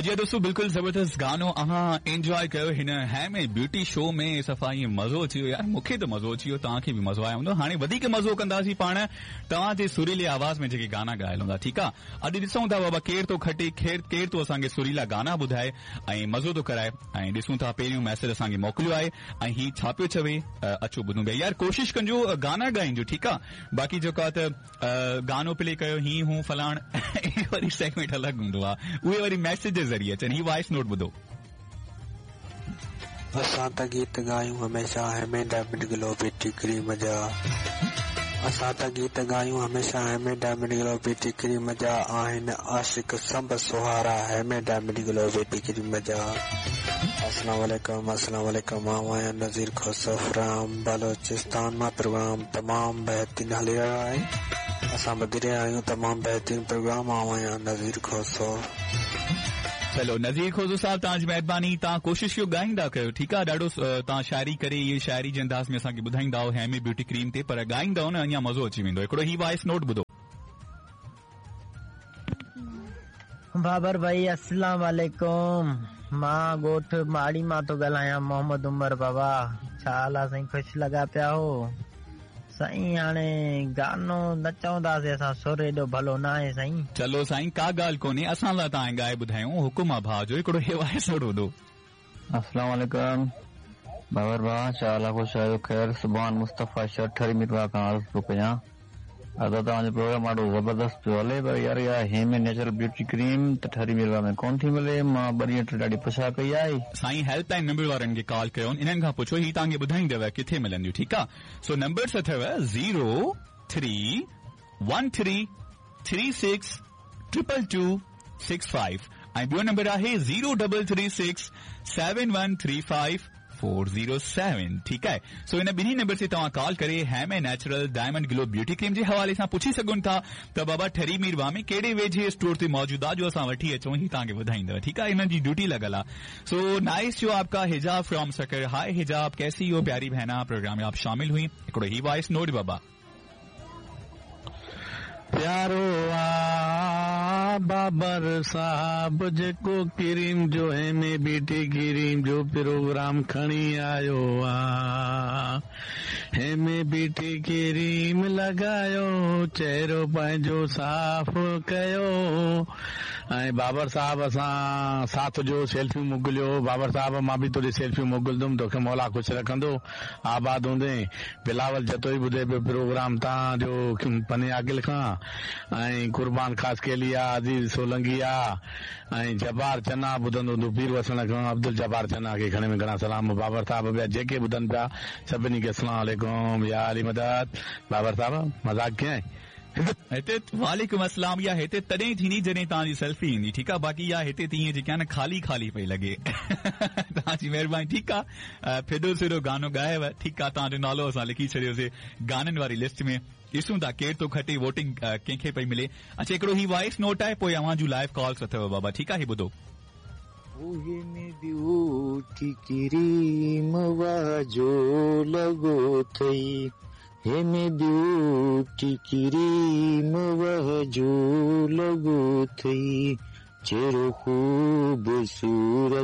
जी दोस्तों, बिल्कुल ज़बरदस्त गानो अव्हां एंजॉय कयो हिन हेमे ब्यूटी शो में। सफ़ा ईअं मज़ो अची वियो यार, मूंखे त मज़ो अची वियो, तव्हांखे बि मज़ो आयो हूंदो। हाणे वधीक मज़ो कंदासीं पाण तव्हांजे सुरीले आवाज़ में जेके गाना ॻायल हूंदा, ठीकु आहे। अॼु ॾिसूं था बाबा केरु थो खटे, केरु थो असांखे सुरीला गाना ॿुधाए ऐं मज़ो थो कराए। ऐं ॾिसूं था पहिरियों मैसेज असांखे मोकिलियो आहे ऐं हीउ छा पियो चवे, अचो ॿुधूं पिया। यार कोशिश कंजो गाना ॻाइजो, ठीकु आहे। बाक़ी जेको आहे त गानो प्ले कयो ही हूं फलाण, वरी सेगमेंट अलॻि हूंदो आहे, उहे वरी मैसेज जे ज़रिए अचनि। ही वॉइस नोट ॿुधो। असां त गीत ॻायूं हमेशा हेमे डायमंड ग्लो ब्यूटी क्रीम जा, असां त गीत ॻायूं हमेशा हेमे डायमंड ग्लो ब्यूटी क्रीम जा, आहिनि आशिक संब सुहारा हेमे डायमंड ग्लो ब्यूटी क्रीम जा। अस्सलाम वालेकुम, अस्सलाम वालेकुम। मां आहियां नज़ीर खोसो फ्रॉम बलोचिस्तान मां। प्रोग्राम तमामु बहितरीन हली रहियो आहे, असां ॿुधी रहिया आहियूं तमामु बहितरीन प्रोग्राम। मां आहियां नज़ीर खोसो। चलो नज़ीर खोसो साहब, तव्हांजी महिरबानी, तव्हां कोशिश कयो ॻाईंदा कयो, ठीकु आहे। ॾाढो तव्हां शाइरी करे इहे शाइरी जे अंदाज़ में असांखे ॿुधाईंदा हो हेमे ब्यूटी क्रीम ते, पर ॻाईंदा हो न अञा मज़ो अची वेंदो। हिकिड़ो ही वॉइस नोट ॿुधो। बाबर भाई अस्सलाम वालेकुम, मां ॻोठ माड़ी मां थो ॻाल्हायां, मोहम्मद उमर बाबा। छा हाल आहे साईं? ख़ुशि लॻा पिया हो साईं? हाणे गानो न चवंदासीं असां, सुर एॾो भलो न आहे साईं। चलो साईं, का ॻाल्हि कोन्हे, असां लाइ तव्हां ॻाए ॿुधायूं, हुकुम आहे भाउ जो। हिकिड़ो हे वॉइस नोट ॿुधो। अस्सलाम वालेकुम बाबर भाउ, छा हाल आहे? ख़ुशि आहियो? ख़ैर। सुभान मुस्तफ़ा शहर ठरी मीरवाह खां अर्ज़ु थो कयां, अदा तव्हांजो प्रोग्राम ॾाढो ज़बरदस्त पियो हले, पर यार इहा हेमे नेचुरल ब्यूटी क्रीम त ठरी मीरवाह में कोन थी मिले। मां ॿ ॾींहं टे ॾाढी पुछा कई आहे। साईं हेल्पलाइन नंबर वारनि खे कॉल कयो, इन्हनि खां पुछो, ही तव्हांखे ॿुधाईंदव किथे मिलंदियूं, ठीकु आहे। सो नंबर्स अथव 0313 36 222 65 ऐं ॿियो नंबर आहे 0336 7135 407, ठीकु आहे। सो इन ॿिन्ही नंबर ते तव्हां कॉल करे हेमे natural diamond glow beauty cream जे हवाले सां पुछी सघो था त बाबा ठरी मीरवाह में कहिड़े वेझे स्टोर ते मौजूदु आहे जो असां वठी अचूं, ही तव्हांखे ॿुधाईंदव, ठीकु आहे। इन्हनि जी ड्यूटी लॻल आहे। सो नाइस जो आपका हिजाब फ्रॉम सकर। हाय हिजाब, कैसी हो प्यारी बहना, प्रोग्राम में आप शामिल हुई। हिकिड़ो ही वॉइस नोट बाबा। प्यारो आ बाबर साहब, जेको क्रीम जो हेमे ब्यूटी क्रीम जो प्रोग्राम खणी आयो आ, हेमे ब्यूटी क्रीम लॻायो, चेहरो पंहिंजो साफ़ कयो। ऐं बाबर साहब असां साथ जो सेल्फी मोकिलियो। बाबर साहब मां बि तुंहिंजी सेल्फी मोकिलिंदुमि, तोखे मौला ख़ुशि रखंदो, आबाद हूंदे। बिलावल जतोई ॿुधे पियो प्रोग्राम तव्हांजो पने आकिल खां, ऐं कुर्बान ख़ासकेली आहे, अज़ीज़ सोलंगी आहे, ऐं जबार चना ॿुधंदो हूंदो पीर वसण खां, अब्दुल जबार चना खे घणे में घणा सलाम। बाबर साहब ॿिया जेके ॿुधनि पिया सभिनी खे अस्सलाम वालेकुम, या अली मदद। बाबर साहब मज़ाक कीअं? हिते वालेकुम अस्सलाम। इहा हिते तॾहिं थींदी जॾहिं तव्हांजी सेल्फी ईंदी, ठीकु आहे। बाक़ी इहा हिते त ईअं जेके आहे न ख़ाली ख़ाली पई लॻे। तव्हांजी महिरबानी, ठीकु आहे। फिदो सिरो गानो ॻायो, ठीकु आहे। तव्हांजो नालो असां लिखी छॾियोसीं गाननि वारी लिस्ट में। ॾिसूं था केरु थो खटे, वोटिंग कंहिंखे पई मिले। अच्छा हिकिड़ो ही वॉइस नोट आहे, पोइ अव्हां जूं लाइव कॉल्स अथव बाबा, ठीकु आहे। ही ॿुधो। ब्यूटी क्रीम जो लॻो अथई, हेमे ब्यूटी क्रीम वह जो लॻो अथई, चेहरो ख़ूबसूरत